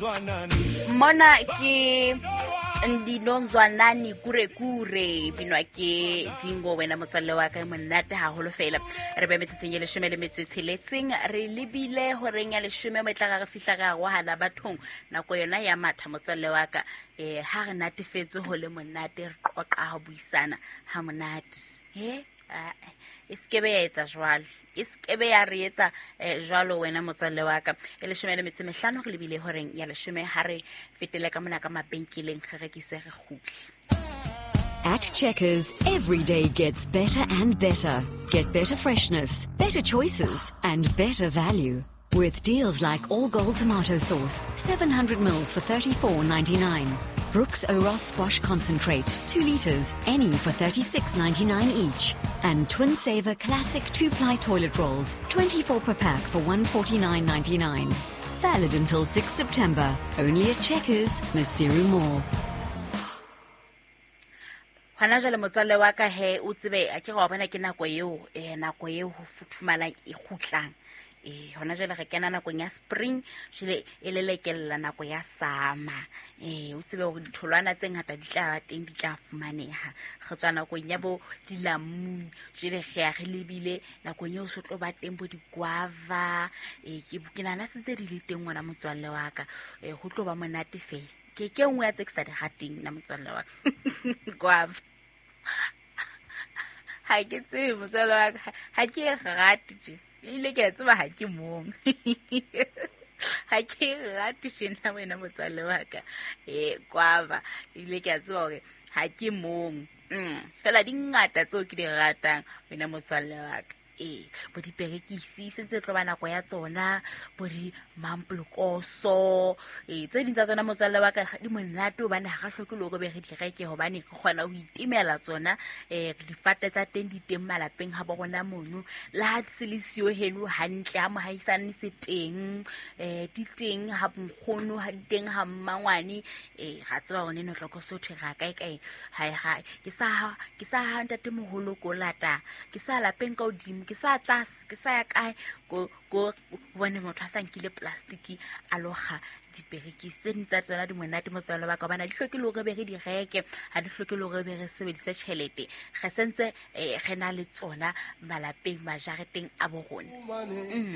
Mona ke Ndinonzwanani Kurekure, binwa ke Dingo. Wena motswalle wa ka, monate haholo fela. Re be metsotsong e 17, re lebile horeng ya 10 mo e tla re fihla re arohana bathong. Nako yona ya matha, motswalle wa ka. Ha re natefetse ho le monate, re qoqa ho buisana ha monate. He e sekebe ya etsa jwalo, e sekebe ya re etsa jwalo, wena motswalle wa ka. E 15, re lebile horeng ya 10. Ha re fetele ka mona ka mabenkeleng, re rekise, re kgutle. At Checkers, every day gets better and better. Get better freshness, better choices, and better value. With deals like All Gold tomato sauce, 700 mils for 34.99. Brooks Oros squash concentrate, 2 liters, any for 36.99 each. And Twin Saver classic 2-ply toilet rolls, 24 per pack for 149.99. Valid until 6 September. Only at Checkers, Maseru Mall. Hona jwale, motswalle wa ka, he o tsebe a ke wa bona ke nako eo, nako eo ho futhumalang e kgutlang. Hona jwale re kena nakong ya spring, jwale e lelekella nako ya summer. O tsebe hore ditholwana tse ngata di tla ba teng, di tla fumaneha. Re tswa nakong ya bo dilamuni, jwale re ya re lebile nakong eo se tlo ba teng bo di-guava. Ke nahana se ntse di le teng, ngwana motswalle wa ka. Ho tlo ba monate fela. Ke nngwe ya tse ke sa di rateng nna, motswalle wa ka, guava. Ha ke tsebe, motswalle wa ka, ha ke e rate tje. Ebile ke a tseba ha ke mong, ha ke e rate tjena, wena motswalle wa ka, guava. Ebile ke a tseba hore ha ke mong. Fela di ngata tseo ke di ratang, wena motswalle wa ka. Bo diperekisi se ntse tlo ba nako ya tsona, bo di mampolokoso. Tse ding tsa tsona, motswalle wa ka, di monate hobane ha re hloke le hore be re di reke, hobane re kgona ho itemela tsona. Difate tsa teng di teng malapeng ha bo rona mono, le ha se le siyo heno hantle, ha mohaisane se teng. Di teng ha nkgono, ha di teng ha mmangwane. Ra tseba hore neno tloko sotho ra kae kae. Ha ke sa ha ntatemoholo ko lata, ke sa lapeng ka hodimo, ke sa tlase, ke sa ya kae ko bone motho a sa nkile plastic a lokga diperekisi. Tse ding tsa tsona di monate, motswalle wa ka, hobane ha di hloke le hore be re di reke, ha di hloke le hore be re sebedise tjhelete. Re sentse re na le tsona malapeng, majareteng a bo rona.